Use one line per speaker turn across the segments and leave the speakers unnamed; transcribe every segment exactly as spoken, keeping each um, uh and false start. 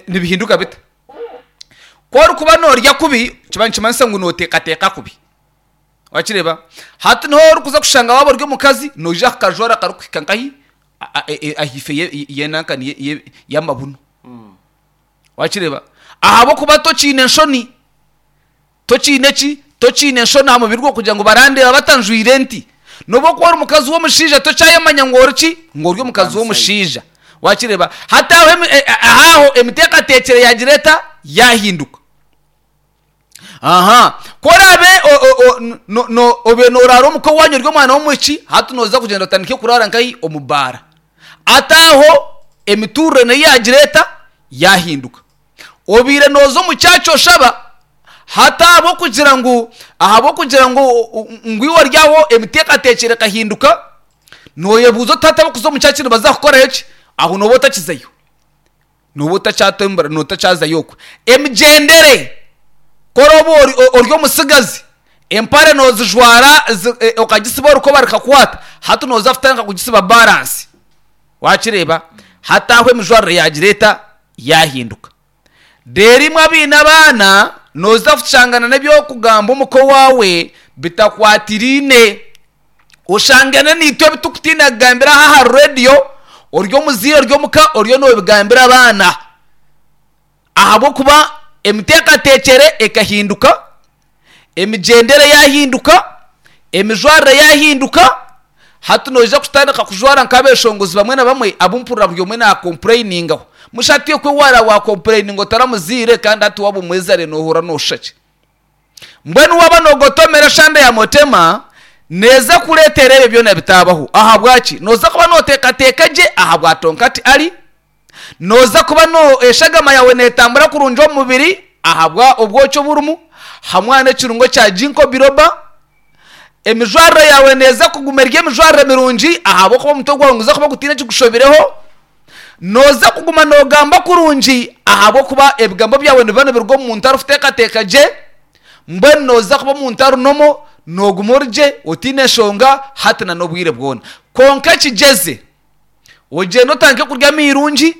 Nibihinduka bita? Ku orikuba noorya kubi, nikiba nikimanyisa ngu nooteekateeka kubi. Wakireeba? Hati niho orikuza kushanga waaba ori omukazi, noija kukajwara karikuhika nkahi? Ahaifo y'enanka y'amabunu. Wakireeba? Ahabw'okuba tokiine nshoni. Tokiine ki? Tokiine nshoni aha mubiri gwawe kugira ngu barandeeba batanjwire nti. N'obu okuba ori mukazi w'omushaija tokyayemanya ngu ori ki? Ngu ori omukazi w'omushaija. Wakireeba? Hati aho emi- e- e- aho emiteekateekyere yaagira eta? Yaahinduka. Aha. Ku oraabe o- o- o- no- no- obaire nooraara omuka owaanyu ori omwana w'omwishiki, hati nooza kugyenda otandike kuraara nkahi? Omu baara. Hati aho emituurire nayo yaagira eta? Yaahinduka. Obaire nooza omu church oshaba, hati ahabw'okugira ngu ahabw'okugira ngu ngu iwe ori aho emiteekateekyere ekahinduka, nooyebuuza oti hati abarikuza omu church nibaza kukorayo ki? Aho nooba otakizayo. Nooba otakyatembura otakyazayo okwe. Emigyendere, ku orooba ori ori omutsigazi, empare noozijwara okagisiba orukoba rukakwata, hati nooza kutandika kugisiba baransi. Wakireeba? Hati aho emijwarire yaagira eta? Yaahinduka. Reero imwe abaine abaana, nooza kushangana n'eby'okugamba omuka owaawe bitakwatiraine. Oshangane naitwe ebi turikutiina kugambira aha aha reediyo, ori omuzaire ori omuka oriyo noobigambira abaana. Ahabw'okuba emiteekateekyere ekahinduka, emigyendere yaahinduka, emijwarire yaahinduka, hati noija kutandika kujwara nk'abeshongozi bamwe na bamwe abu mpurira buri omwe naakompureyiningaho. Mushatu okwe waara waakompureyininga otaramuzaire kandi hati waaba omwezaire noohurira nooshusha ki? Mbwenu waaba noogotomera eshande ya Mutema, neeza kureetera ebyo byona bitaabaho. Ahabwaki? Nooza kuba nooteekateeka gye aha bwa Tonkati Ali. Nooza kuba no eshagama yaawe neetambura kurungi omu mubiri ahabwa obwoki oburimu hamwe n'ekirungo kya Ginkgo biloba. Emijwarire yaawe neeza kuguma eri emijwarire mirungi ahabw'okuba omutwe gwawe niguza kuba gutaine ekigushobireho. Nooza kuguma noogamba kurungi ahabw'okuba ebigambo byawe nibiba nibiruga omu muntu arikuteekateeka gye. Mbwenu nooza kuba omuntu ari normal, nooguma ori gye otaine nshonga hati na n'obwire bwona. Kwonka kigyeze ogyende otandike kurya amairungi,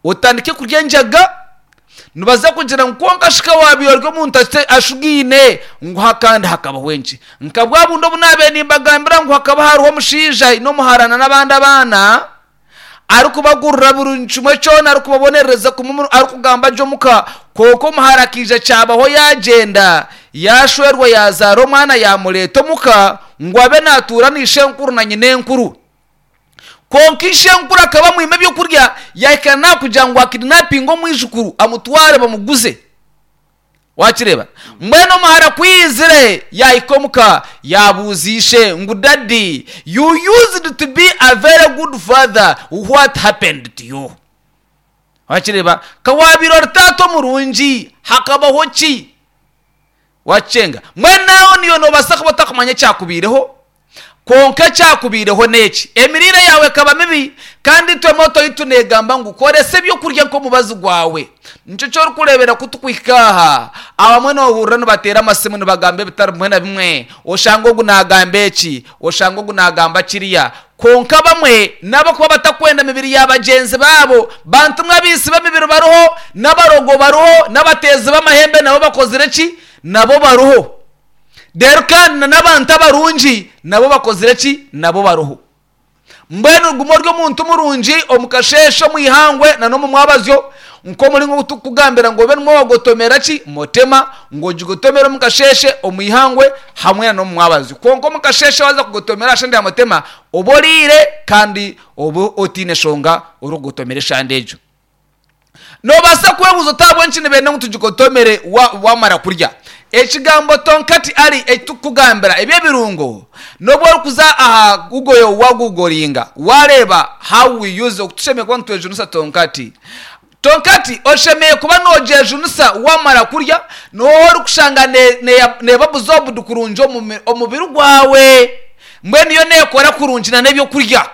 otandike kurya enjaga, nibaza kugira ngu kwonka shi ka waabaire ori omuntu ashugaine ngu ha kandi hakabaho enki? Nka bwa bundi obu naabaire nimbagambira ngu hakaba hariho omushaija aine omuhara n'abandi abaana, arikubagurira buri kimwe kyona, arikubabonerereza kumwe arikugamba gye omuka, kwonka omuhara akaija kyabaho yaagyenda, yaashwerwa yaazaara omwana yaamureeta omuka ngu abe naatuura na ishenkuru na nyinenkuru. Kwonka ishenkuru akaba amwima ebyokurya, yaahika n'aha kugira ngu akidinapinge omwijukuru amutware bamuguze. Wakireeba? Mbwenu omuhara ku yaizire yaahika omuka, yaabuuza ishe ngu, Daddy, you used to be a very good father, what happened to you? Wakireeba? Ka waabaire ori taata omurungi, hakabaho ki? Wakyenga. Mbwenu naawe niiwe noobaasa kuba otakumanya ekyakubaireho, kwonka ekyakubaireho n'eki, emiriire yaawe ekaba mibi, kandi itwe moto yaitu neegamba ngu koresa eby'okurya nk'omubazi gwawe. Nikyo eki orikureebera ku turikuhika aha, abamwe noohurira nibateera amasimu nibagamba ebitari bimwe na bimwe, oshanga ogu naagamba eki, oshanga ogu naagamba kiriya. Kwonka abamwe n'abakuba batakwenda mibiri ya bagyenzi baabo. Bantu mwe abaitsi b'emibiri bariho, n'abarogo bariho, n'abateezi b'amahembe nabo bakozire ki? Nabo bariho. Reero kandi na n'abantu abarungi nabo bakozire ki? Nabo bariho. Mbwenu guma ori omuntu murungi omu kasheeshe, omu ihangwe na n'omu mwabazyo, nk'omuringo ogu turikukugambira ngu obe nimwo waagotomera ki? Motema, ngu ogigotomere omu kasheeshe, omu ihangwe hamwe na n'omu mwabazyo. Kwonka omu kasheeshe waaza kugotomera aha shande ya Motema, obe oriire kandi obe otaine nshonga orikugotomera eshande egyo. Noobaasa kwebuuza oti ahabw'enki nibenda ngu tugigotomere waamara kurya? Ekigambo tonkati ali eki turikukugambira eby'ebirungo, n'obu orikuza aha Google yaawe waagugoringa waareeba how we use oku tushemereire kuba nitwejunisa tonkati. Tonkati oshemereire kuba noogyejunisa waamara kurya, niho orikushanga neeba absorbed kurungi omu mubiri gwawe. Mbwenu yo neekora kurungi n'ebyokurya.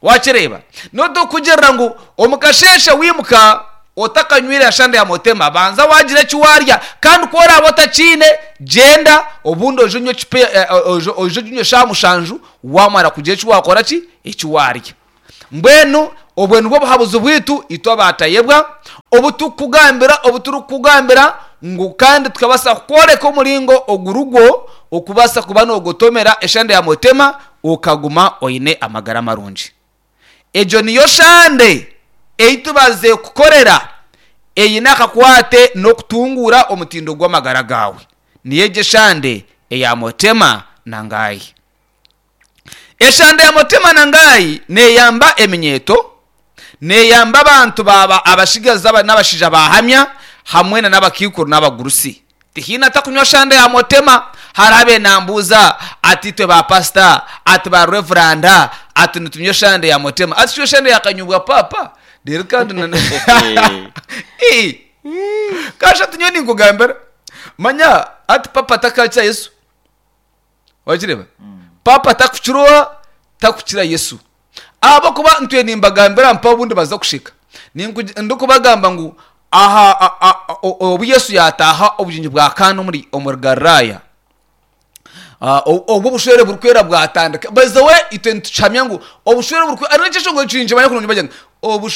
Wakireeba? Niho turikugirira ngu omu kasheeshe waimuka otakanywire ashande ya motema, banza waagira eki waarya. Kandi ku oraabe otakiine, gyenda obundi oije onywe ecupa oije oginywe eshaaha mushanju waamara kugira eki waakora ki? Eki waarya. Mbwenu Obwe nibwo buhabuzi bwaitu itwe abaatayebwa obu turikukugambira, obu turikukugambira ngu kandi tukabaasa kukworeka omuringo ogurugwo okubaasa kuba noogotomera eshande ya Motema okaguma oine amagara marungi. Egyo niyo shande ei tubaziire kukorera eine akakwate n'okutunguura omutindo gw'amagara gaawe. Niyo egyo eshande eya Motema na Ngai. Eshande ya Motema na Ngai neeyamba eminyeeto, neeyamba abantu baaba abashigazi n'abashaija baahamya hamwe na n'abakaikuru n'abagurusi. Tihaine atakunywa shande ya Motema. Hariho abaire nambuuza ati itwe ba pasita, ati ba revuranda, ati nitunywa eshande ya Motema. Ati shi eshande yakanyobwa paapa? Reero kandi na Ii! Kasha ati nyowe ninkugambira. Manya ati papa takakira Yesu. Wakireeba? Paapa takukira oha? Takukira Yesu. Ahabw'okuba ntwire nimbagambira mpaho obundi baza kusheka. Ninkugi- Ndikubagamba ngu aha a- a- o- obu Yesu yaataaha obugyenyi bwa Kaana omuri omuri Galilaaya, ah, o- obu obushwere burikwera bwatandika. By the way, itwe nitukihamya ngu obushwere burikwera, hariho ekyeshongoro eki ninkimanya kurungi bagira ngu obushwere